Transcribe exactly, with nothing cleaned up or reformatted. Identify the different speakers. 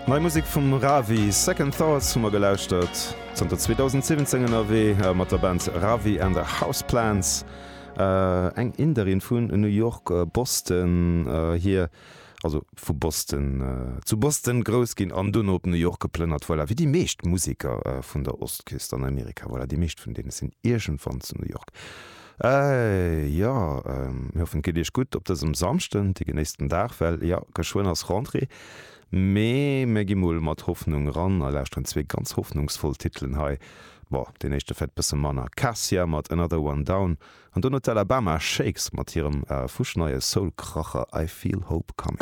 Speaker 1: Nei Musek vum Ravi, Second Thoughts hu mer gelauschtert. Zanter zweedausendsiwwenzéng ënnerwee mat der Band Ravi and the Houseplants. Eng Inderin vun New York, Boston hier, also vu Boston, zu Boston grouss ginn an dono op New York geplënnert. Voilà, wéi déi meescht Museker vun der Ostküst an Amerika. Voilà, déi meescht vun deene sinn iergendwann zu New York. Jo, mir hoffen et geet iech gutt op dësem Samschden. Dir genéisst den Dag, well jo, geschwënn ass Rentrée. Mee mir gi mol mat Hoffnung ran a lauschteren zwee ganz hoffnungsvoll Titelen hei. Bon, deen éischte vläit bësse manner, Cassia mat Another One Down an dono d'Alabama Shakes mat hirem fuschneie Soul-Kracher I Feel Hope Coming.